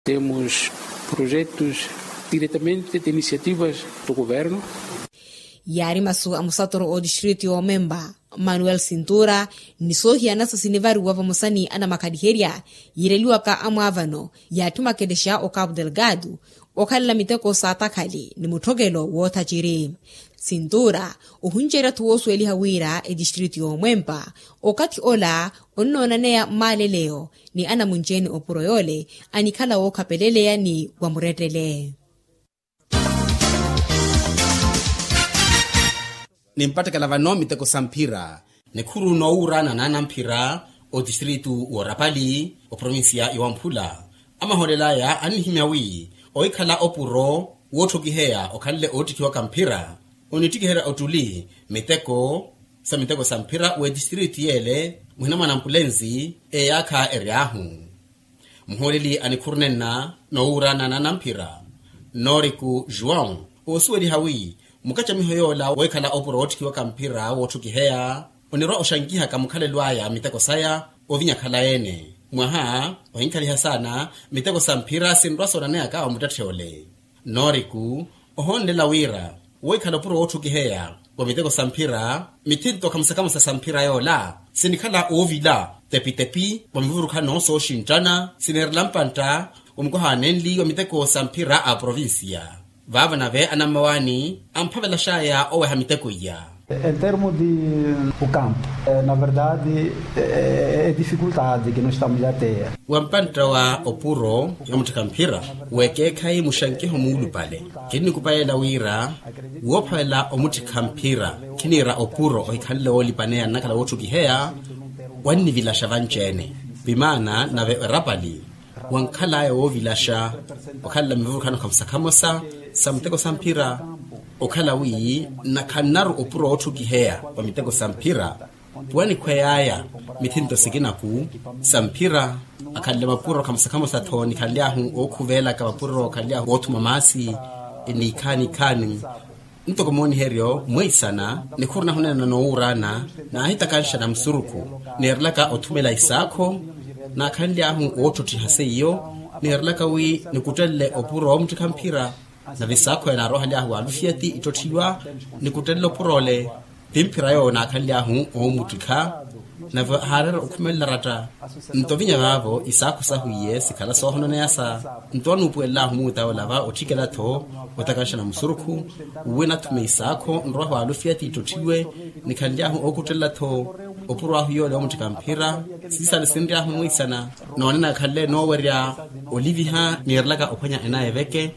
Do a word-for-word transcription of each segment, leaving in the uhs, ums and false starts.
Temos projetos diretamente de iniciativas do governo. Yaari masu a musatoro o distrito y'omemba manuel sintura ni soohiyanasa sinivariwa vamosa ni anamakhaliherya yiireliwaka amwaavano yaatthi makelexa o cabo delgado okhalela miteko saatakhali ni mutthokelo woothaciri. Sintura ohunceriya-tho woosuweliha wira etistrito y'omwempa okathi ola onnoonaneya mmaaleleyo ni anamunci-ene opuro yoole anikhala wookhapeleleya ni wamurettele. Nimpattekela vano miteko sa mphira nikhuru noowuuraana naanamphira otistrito w'orapali oprovincia ya wamphula amahoolel'aya annihimya wi ohikhala opuro wootthokiheya okhanle oottikhiwaka mphira onittikiherya ottuli miteko sa miteko sa mphira w'etistrito yeele muhina mwa nampulensi eyaakha ery'ahu. Muhooleli a nikhuru nenna noowuuraana naanamphira noriku juwão oosuweliha wi mukacamiho yoola wohikhala opuro wootthikiwaka mphira wootthukiheya onirwa oxankihaka mukhalelo aya miteko saya ovinya khalayi-ene mwaha ohinkhaliha saana miteko sa mphira sinrwa soonaneyaka omuttetthe ole. Noriku ohoonlela wira wohikhala opuro wootthukiheya wa miteko sa mphira mithinto khamusakhamusa sa mphira yoola sinikhala oovila tepitepi wa mivurukhano sooxinttana sineerela mpantta wa mukwaha anenli wa miteko sa mphira a provincia. Vaavo nave anammawaani amphavelaxaya oweha miteko iya. Em termo de o campo, na verdade é dificuldade que nos estamos a ter. Wa mpantta wa opuro ya mutthikha mphira w'ekeekhayi muxankiho muulupale kinnikupayela wira woophavela omutthikha mphira khiniira opuro ohikhanle woolipaneya nnakhala wootthukiheya wannivilaxa vanci-ene. Vimaana nave erapali wankhal'aya woovilaxa okhalela mivurukhano khamusakhamusa sa miteko sa mphira okhala wi nakhannaru opuro wootthukiheya wa miteko sa mphira wanikhwey'aya mithinto sikinaku sa mphira akhanle mapuro khamusakhamusa-tho nikhanly'ahu ookhuvelaka mapuro khanly'ahu oothuma maasi ni ikhaani ikhaani. Ntoko mooniheryo mweisana nikhuru nahunena noowuuraana naahitakanxana musurukhu neerelaka othumela isaakho naakhanly'ahu oottotthiha seiyo neerelaka wi nikuttelele opuro woomuttikha mphira. Nave isaakho enaaroohaly'ahu waalufiyati ittotthiwa nikuttelele opuro ole ti mphira yoowo naakhanly'ahu oomuttikha. Nave haareera okhumelela ratta nto vinya vaavo isaakho sahu iye sikhala soohononeyasa nto anuupuwelel'ahu muuta yoola va otthikela-tho otakanxana musurukhu uwe nathume isaakho nrwahu alufiyati ittotthiwe nikhanly'ahu ookuttelela-tho opuro ahu yoole oomutthika mphira. Siisale sinry'ahu mwiisana noonena khanle noowerya oliviha niirelaka ophwanya enaya eveke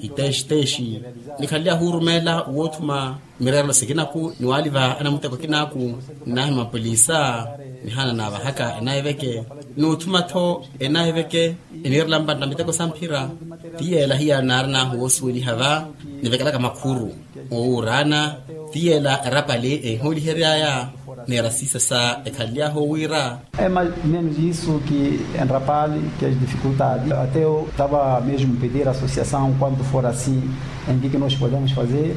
iteexiteexi nikhanly'ahu orumeela woothuma mireerelo sikinaku ni waaliva anamuteko akinaaku nnaahima polisa nihaana naavahaka enaya eveke. Noothuma-tho enaya eveke eniirela mpantta miteko sa mphira ti yeela hiyaari naarin'ahu woosuweliha va nivekelaka makhuru oowuuraana ti yeela erapali ehihoolihery'aya. Neera siisa sa ekhanly'ahu owiira. É mais menos isso que enrapale que as dificuldades até eu tava mesmo pedir a associação quanto for assim em que que nós podemos fazer.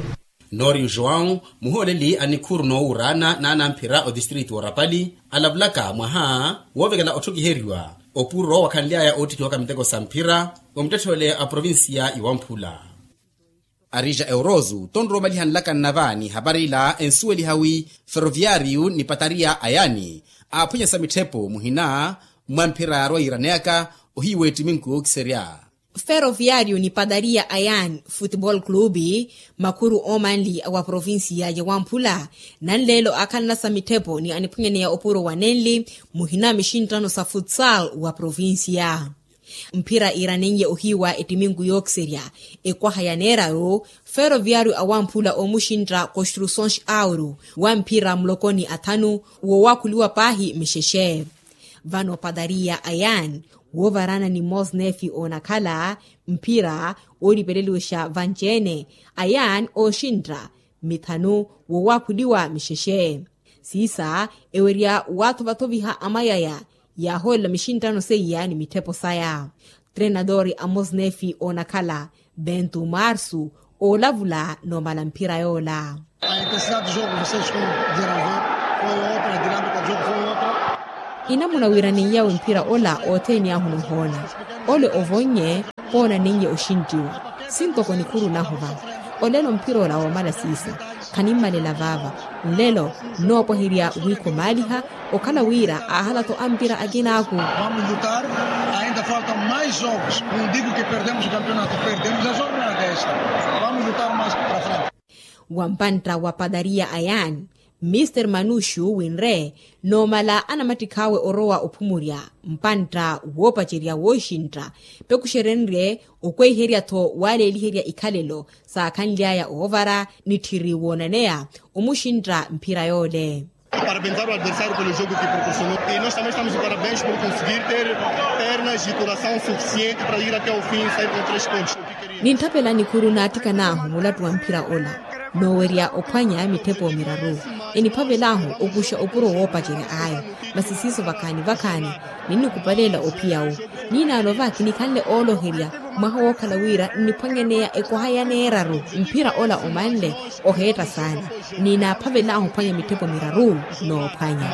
Noori joão muhooleli a nikhuru noowuuraana naanamphira otistrito w'orapali alavulaka mwaha woovekela otthokiheriwa opuro wakhanly'aya oottikhiwaka miteko sa mphira wa muttetthe ole a provincia iwamphula. Arija eurozu tonrowa omalihanlaka nnava ni hapari ila ensuweliha wi ferroviariyu ni patariya a yaani aaphwanyesa mitthepo muhina mwa mphira yaarwa yiiraneyaka ohiiwa ettiminku yookiserya. Ferroviariyu ni patariya a yaani futebol clube makhuru oomanli wa provincia ya wamphula nanleelo aakhalanasa mitthepo ni aniphwanyaneya opuro wa nenli muhina mixinttano sa futsal wa provincia. Mphira iiranenye ohiiwa ettiminku yookiserya ekwaha ya neeraru ferroviariyu awamphula oomuxintta construções auro wa mphira mulokoni athanu woowakhuliwa paahi mixexe. Vano patariya a yaani woovaraana ni mosnefi oonakhala mphira oolipeleliwexa vanci-ene a yaani ooxintta mithanu woowakhuliwa mixexe. Siisa ewerya waathovathoviha amayaya yaahoolela mixinttano seiya ni mitthepo saya. Trenadori a mosnefi oonakhala bentu marsu oolavula noomala mphira yoola. Inamuna wiiraneiy'awe mphira ola othene ahu noohoona ole ovonnye. Poona ninye oxinttiwa sintoko nikhuru nahu va. Olelo mphir'ola woomala siisa khanimmalela vaava. Nlelo nnoopwaherya wiikhomaaliha okhala wira aahala-tho ampira akinaaku. Vamos lutar. Ainda faltam mais jogos, não digo que perdemos o campeonato, perdemos a jornada esta. Vamos lutar mais para frente. Wa mpantta wa padariya a yaani, mister manuxu winre noomala anamattikh'awe orowa ophumurya mpantta woopacerya wooxintta. Pekuxerenrye okweiherya-tho waaleeliherya ikhalelo saakhanly'aya oovara nitthiri woonaneya omuxintta mphira yoole. Parabenzar o adversário pelo jogo que proporcionou e nós também estamos de parabéns por conseguir ter pernas e coração suficiente para ir até o fim e sair com três pontos. Nintthapela nikhuru naattikan'ahu mulattu wa mphira ola noowerya ophwanya mitthepo miraru. Eniphavel'ahu okuxa opuro woopacerya ayo. Masi siiso vakhaani vakhaani ninnikupaleela ophiya-wu. Niinaano va kinikhanle ooloherya mwaha wookhala wira nniphwanyaneya ekoha ya neeraru. Mphira ola omanle oheetta saana. Niinaaphavel'ahu ophwanya mitthepo miraru noophwanya.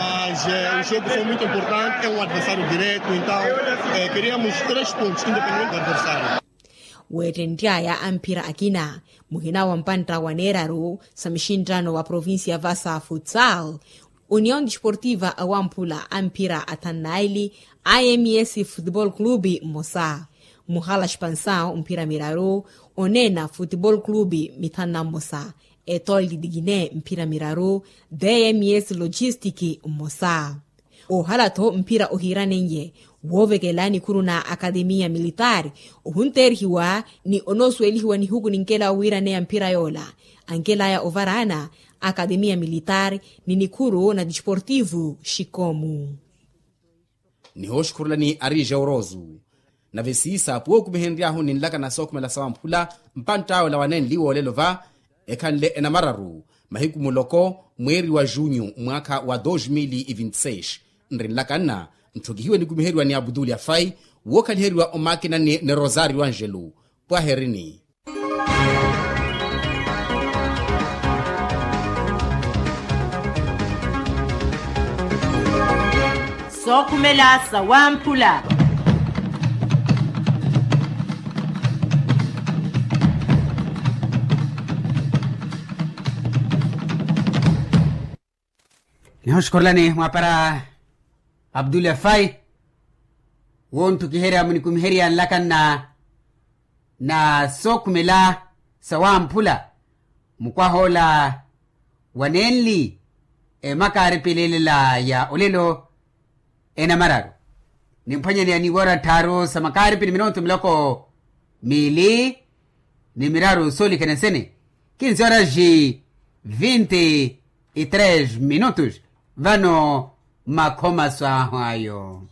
Weettenty'aya a mphira akina muhina wa mpantta wa neeraru sa muxinttano wa provincia vasa futsal, union desportiva awamphula a mphira athannaili, ims futebol clube mmosa, muhala spansaw mphira miraru, oneena futebol clube mithanna mmosa, etol de digine mphira miraru, dms logistic mmosa. Oohala-tho mphira ohiiranenye woovekela nikhuru na akademiya militaari, ohunteerihiwa ni onoosuwelihiwa nihuku ninkela owiiraneya mphira yoola. Ankel'aya ovaraana akademiya militaari ni nikhuru na desportivu xikomu. Nihooxukhurulani ari jawrosu. Nave siisa pwookumihenry'ahu ninlakana sookhumela sawamphula mpantt'awe ola wanenli woolelo va ekhanle enamararu mahiku muloko mweeri wa junyu mwaakha wa dos mil e vinti seis. Nrinlakanna ntthokihiwe nikumiheriwa ni abutuli afai wookhaliheriwa omakinani ni rosario angelo. Pwaherini. Sookhumela sawamphula. Nihoxukhorelani mwaapara abdul afai wonttukiherya munikumiherya nlakanna na sookhumela sawamphula mukwah'ola wanenli emakaaripi leelela ya olelo enamararu. Nimphwanyaneya ni woora tthaaru sa makaaripi ni minontu miloko miili ni miraru soolikana sene kinsi oraji vinti e tres minutos. Vano makhomaso ahu ayo.